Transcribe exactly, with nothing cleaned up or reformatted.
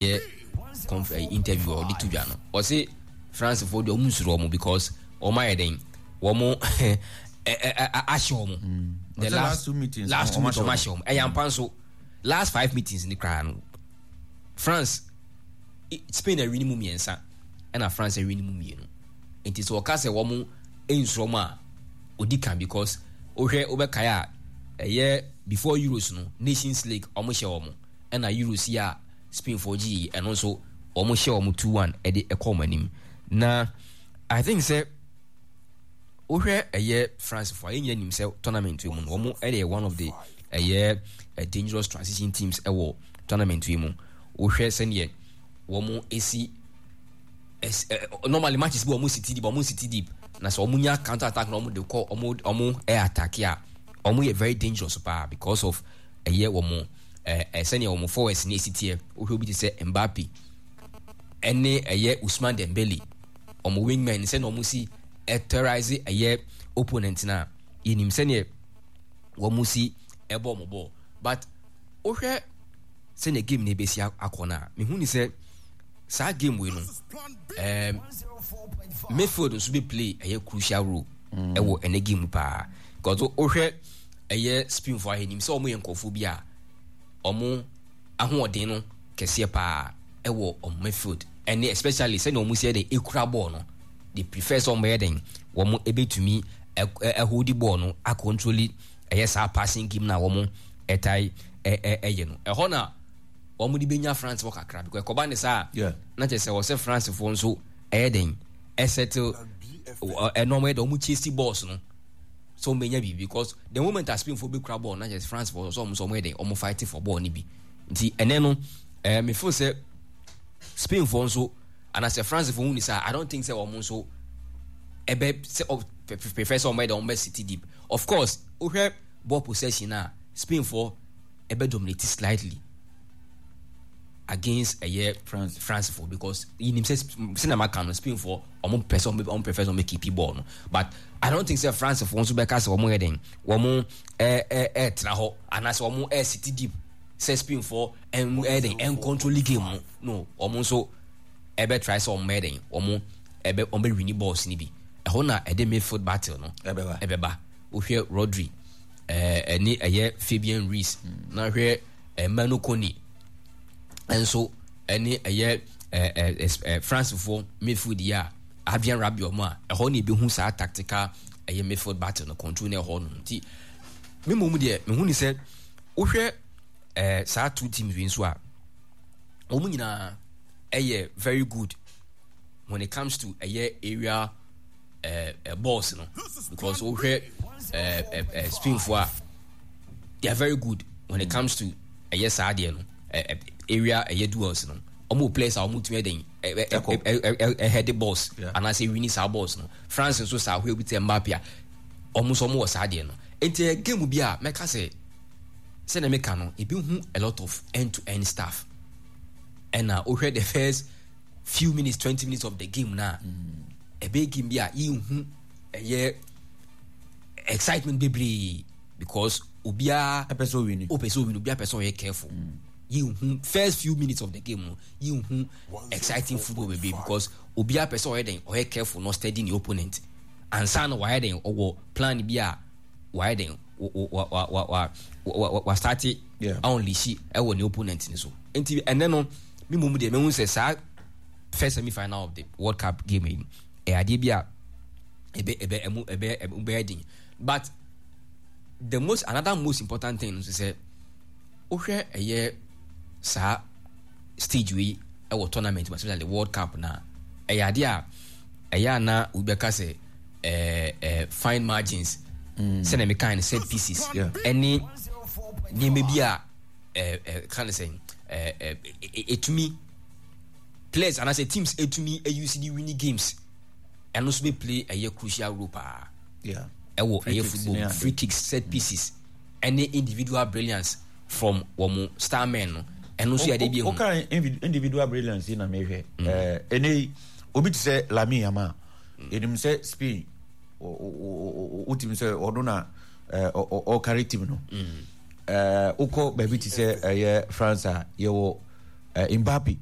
Yɛ conf eh, interview a ɔde to dwa no, ɔse France foɔ deɛ, ɔmo nsuro ɔmo because ɔmo ayɛ den, wɔn ahyɛ ɔmo mm. The last two meetings, last two meetings ɔmo ahyɛ ɔmo. Ɛyɛ ampa nso, last five meetings ni koraa no, France, Spain awi ne mu mmiɛnsa, ɛna France awi ne mu mmienu. Nti sɛ ɔka sɛ wɔn nsuro ɔmo a, odi kan, because wohwɛ, wobɛkae a, ɛyɛ before Euros no, Nations League ɔmo hyɛ wɔn, ɛna Euros yi a Spainfoɔ gye yi, ɛno nso wɔn hyɛ wɔn two one ɛde ɛkɔ wɔn anim. Na I think sɛ wohwɛ ɛyɛ France foɔ a, yɛn nyinaa nim sɛ tournament yi mu no, wɔn ɛyɛ one of the ɛyɛ dangerous transition teams ɛwɔ tournament yi mu. Wohwɛ sɛdeɛ wɔn esi ɛs ɛ normally matches bi, wɔn sit deep, wɔn sit deep, na sɛ wɔn nya counter attack na wɔn de kɔ, wɔn wɔn ɛ attack a, wɔn yɛ very dangerous paa because of ɛyɛ wɔn ɛɛ ɛ sɛnea wɔn forwards ne esi teɛ. Wohwɛ obi te sɛ Mbappe ɛne ɛyɛ Ousmane Dembele, wɔn wingmen, sɛnea wɔn si ɛterrorize ɛyɛ opponent na yɛnim sɛnea wɔn si ɛbɔ wɔn ball. But wohwɛ sɛnea game no ebesi akɔ no a, mehu ni sɛ saa game wei no, ɛɛm midfield nso bɛ play ɛyɛ crucial role mm. ɛwɔ ɛnɛ game mu paa, because wohwɛ ɛyɛ Spain fo ahɛnim sɛ wɔn yɛ nkurɔfoɔ bi a wɔn ahoɔden no kɛseɛ paa ɛwɔ wɔn midfield, ɛne especially sɛnea wɔn si yɛ den ekura bɔɔl no. They prefer sɛ wɔn bɛyɛ den, wɔn ebɛtumi ɛholdi bɔɔl no, acontroli ɛyɛ saa passing game na wɔn ɛtae ɛyɛ no. Ɛhɔ na wɔn de bɛnya France fo kakra, because ɛkɔba ne saa, na kyerɛ sɛ wɔsɛ France fo nso ɛyɛ den ɛsɛtel ɛna wɔn yɛ den, wɔn chase balls no so wɔn bɛnya biribi, because the moment a Spain fo bɛkura ball, na kyerɛ sɛ France fo nso, wɔn nso wɔn yɛ den, wɔn fight for ball no bi. Nti ɛnɛ no, ɛɛ me feel sɛ Spain fo nso anaasɛ France fo hu ni saa, I don't think sɛ wɔn nso ɛbɛ sɛ ɔ prefer sɛ wɔn bɛyɛ dɛ wɔn bɛ sit deep. Of course, wohwɛ ball possession a, Spain fo ɛbɛ dominate slightly against ɛyɛ France France fo, because yinim sɛ sɛ na maka no, Spain fo wɔn pɛ sɛ wɔn prefer sɛ wɔn keep ball no, but I don't think sɛ France fo nso bɛka sɛ wɔn yɛ den, wɔn ɛɛ ɛɛ ɛɛtena hɔ anaasɛ wɔn ɛɛ sit deep sɛ Spain fo ɛn ɛyɛ den ɛn control game no no Wɔn nso ɛbɛ try sɛ wɔn bɛyɛ den, wɔn ɛbɛ wɔn bɛ win balls ni bi. Ɛhɔ na ɛde midfield battle no ɛbɛba. Ɛbɛba. Wohwɛ Rodri ɛɛ ɛne ɛyɛ Fabian Ruiz, na hwɛ ɛɛ Manu Kone ɛnso ɛne ɛyɛ ɛɛ ɛɛ France foɔ midfield yi a, Adrien Rabiot mu a, ɛhɔ na ebehu saa tactical ɛyɛ midfield battle no control na ɛhɔ no. Nti me mmom deɛ, mehu ni sɛ wohwɛ ɛɛ saa two teams wei nso a, wɔn nyinaa ɛyɛ very good when it comes to ɛyɛ area ɛɛ uh, balls no, because wohwɛ ɛɛ ɛɛ Spain fo a, they are very good when it comes to ɛyɛ saa adeɛ no, ɛɛ area ɛyɛ duels no. Wɔn wɔ players a wɔn tumi ɛdɛn ɛ ɛ ɛ head balls anaasɛ wini saa balls no. France nso saa, hwɛ obi te Mbappe a, wɔn nso wɔn wɔ saa adeɛ no. Nti ɛyɛ game bi a mɛka sɛ sɛdeɛ meka no, ebi hu a lot of end to end stuff. Ɛna wohwɛ the first few minutes, twenty minutes of the game na ɛbɛyɛ game bi a yɛnhu ɛyɛ excitement bebree, because obiara ɛpɛ sɛ owini. Wopɛ sɛ owini, obiara pɛ sɛ ɔyɛ careful. Yɛnhu first few minutes of the game no, yɛnhu exciting football bebree, because obiara pɛ sɛ ɔyɛ den, ɔyɛ careful na steady ne opponent ansa na wayɛ den, ɔwɔ plan bi a wayɛ den, wa wa wa wa wa wa start unleash ɛwɔ ne opponent ne so. Nti ɛnɛ no, mi mu deɛ, mehu sɛ saa first semi final of the World Cup game yi, ɛyɛ adeɛ bi a ɛbɛ ɛbɛ ɛmu ɛbɛ ɛmu bɛyɛ den. But the most another most important thing nso sɛ wohwɛ ɛyɛ saa stage wei ɛwɔ tournament mu, especially World Cup, na ɛyɛ adeɛ a ɛyɛ ana obi bɛka sɛ ɛɛ ɛɛ fine margins mm. sɛnea meka no, set pieces ɛne nneɛma bi a ɛɛ ɛɛ ka no sɛ ɛɛ ɛɛ ɛtumi players anaasɛ teams ɛtumi ɛuse de winning games, ɛno nso bɛ play ɛyɛ crucial role paa ɛwɔ ɛyɛ football. Free kicks, set pieces ɛne individual brilliance from wɔn star men no, ɛno nso yɛ ade bi ehu. O individual brilliance yi na mehwɛ ɛɛ ɛnɛ yi, obi te sɛ Lamine Yamal, enim sɛ Spain wotumi sɛ ɔno na ɔkari team no. Ɛɛ wokɔ baabi te sɛ ɛyɛ France a, yɛwɔ uh, Mbappe.